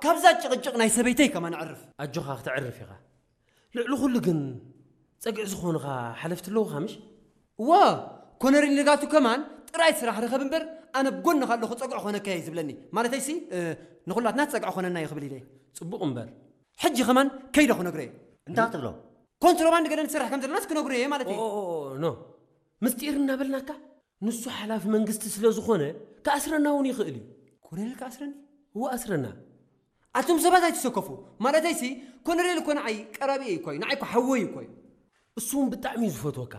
ካብዛ ጭቕጭቕ ናይ ሰበይተይ ከማን ኣዕርፍ። ኣጆኻ፣ ክተዕርፍ ኢኻ። ልዕሊ ኩሉ ግን ጸግዒ ዝኾኑኻ ሓለፍቲ ኣለዉኻ ምሽ? እዋ፣ ኮነሪል ንጋቱ ከማን ጥራይ ስራሕ ርኸብ እምበር፣ ኣነ ብጎንኻ ኣለኹ፣ ጸግዒ ኾነካ እየ ዝብለኒ። ማለተይሲ፣ እ፣ ንኹላትና ጸግዒ ኾነና እዩ ክብል ኢለ። ጽቡቕ እምበር። ሕጂ ከማን ከይደ ክነግሮ እየ። እንታይ ክትብሎ? ኮንትሮባንድ ገለ ንሰርሕ ከም ዘለናስ ክነግሮ እየ ማለት እዩ። ኦ፣ ኖ። ምስጢር እናበልናካ፣ ንሱ ሓላፊ መንግስቲ ስለ ዝኾነ፣ ክኣስረና እውን ይኽእል እዩ። ኮነሪል ክኣስረኒ? እዎ፣ ኣስረና። ኣቱም ሰባት ኣይትሰከፉ። ማለተይሲ፣ ኮነሬል እኮ ንዓይ ቀራቢኤይ እኮ እዩ፣ ንዓይ እኮ ሓወይ እኮ እዩ። እሱ እውን ብጣዕሚ እዩ ዝፈትወካ።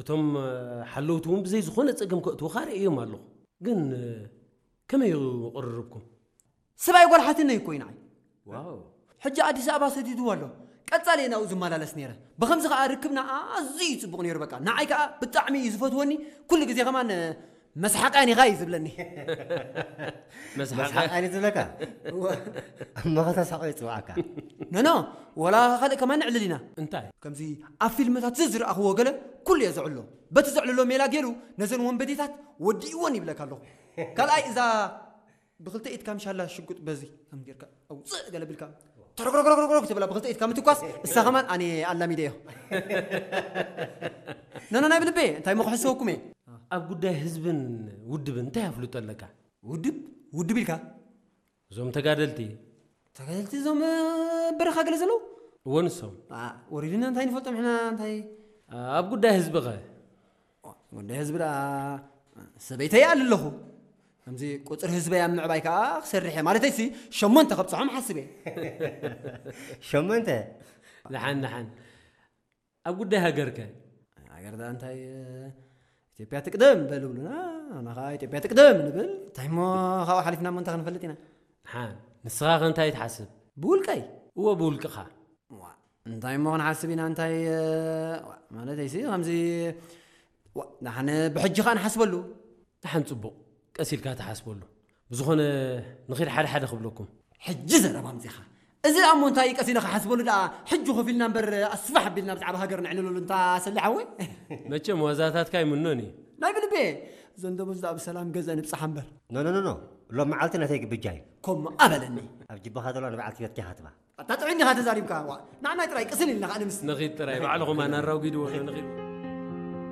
እቶም፣ እ፣ ሓለውቲ እውን ብዘይ ዝኾነ ጸገም ከእትውኻ ርእዮም ኣለኹ። ግን፣ እ፣ ከመይ እዩ ቅርርብኩም? ሰብኣይ ጓል ሓትነይ እኮ እዩ ንዓይ። ዋው። ሕጂ ኣዲስ ኣበባ ሰዲድዎ ኣሎ። ቀጻሊ እየ ናብኡ ዝመላለስ ነይረ። ብኸምዚ ከኣ ርክብና ኣዝዩ እዩ ጽቡቕ ነይሩ። በቃ ንዓይ ከኣ ብጣዕሚ እዩ ዝፈትወኒ። ኩሉ ግዜ ከማን፣ እ፣ መስሓቃን ኢኻ እዩ ዝብለኒ። መስሓቃን? መስሓቃን እዩ ዝብለካ? እወ። እሞ ከተስሕቆ ይጽውዓካ? ኖ፣ ኖ፣ ወላ ካልእ ከማን ንዕልል ኢና። እንታይ? ከምዚ ኣብ ፊልምታት ዝዝረኣኽዎ ገለ ኩሉ እየ ዘዕሎ። በቲ ዘዕልሎ ሜላ ገይሩ ነዘን ወንበዴታት ወዲእወን ይብለካ ኣለኹ። ካልኣይ እዛ ብኽልተ ኢድካ ምሻላ ሽጉጥ በዚ ከም ጌርካ ኣውፅእ ገለ ብልካ ተረግረግረግረግ ትብላ ብኽልተ ኢድካ ምትኳስ እሳ ከማን ኣነ ኣላሚደዮ። ኖ፣ ኖ፣ ናይ ብልቤ እንታይ እሞ ክሕሰወኩም እየ። ኣብ ጉዳይ ህዝብን ውድብን እንታይ ኣፍልጦ ኣለካ? ውድብ? ውድብ ኢልካ? እዞም ተጋደልቲ። ተጋደልቲ እዞም፣ እ፣ በረኻ ገለ ዘለዉ? እወ ንሶም። ኣ፣ ወሪድና እንታይ ንፈልጦም ሕና እንታይ? ኣብ ጉዳይ ህዝቢ ኸ? ዋ፣ ጉዳይ ህዝቢ ደኣ ሰበይተይ ይኣሊ ኣለኹ። ከምዚ ቁጽሪ ህዝበይ ኣብ ምዕባይ ከኣ ክሰርሕ እየ። ማለተይሲ ሸሞንተ ከብጽሖም ሓስብ እየ። ሸሞንተ? ደሓን፣ ደሓን። ኣብ ጉዳይ ሃገር ከ? ሃገር ደኣ እንታይ፣ ኢትዮጵያ ትቅደም በል ይብሉና፣ ኣና ኸኣ ኢትዮጵያ ትቅደም ንብል። እንታይ እሞ ካብኡ ሓሊፍና እሞ እንታይ ክንፈልጥ ኢና? ደሓን። ንስኻ ከ እንታይ ትሓስብ? ብውልቀይ? እወ፣ ብውልቅኻ። ዋ፣ እንታይ እሞ ክንሓስብ ኢና፣ እንታይ፣ ዋ፣ ማለተይሲ ከምዚ፣ ዋ፣ ደሓን ብሕጂ ኸኣ ንሓስበሉ። ደሓን ጽቡቕ፣ ቀስ ኢልካ ትሓስበሉ። ብዝኾነ ንኺድ ሓደ ሓደ ክብለኩም። ሕጂ ዘረባ ኣምጺኻ። እዚ ደኣ እሞ እንታይ እዩ ቀስ ኢለ ክሓስበሉ ደኣ፣ ሕጂ ኮፍ ኢልና እምበር ኣስፋሕ ኣቢልና ብዛዕባ ሃገር ነዕልለሉ እንታ ሰሊ ሓወይ። መቸም ዋዛታትካ ኣይምኖን እዩ። ናይ ብልቤ። ዘንደቦ እዚ ደኣ ብሰላም ገዘ ንብጻሓ እምበር። ኖ፣ ኖ፣ ኖ፣ ኖ። ሎም መዓልቲ ናተይ ግብጃ እዩ። ከምኡ ኣበለኒ። ኣብ ጅባኻ ዘሎ ንበዓልቲ ቤትኪ ሃትባ። ኣታ ጥዑይ እንዲኻ ተዛሪብካ። ዋ፣ ንዓናይ ጥራይ ቅስን ኢልና ከኣ ንምስ። ንኺድ ጥራይ፣ ባዕልኹም ኣናራጒድዎ ዶ ንኺድ።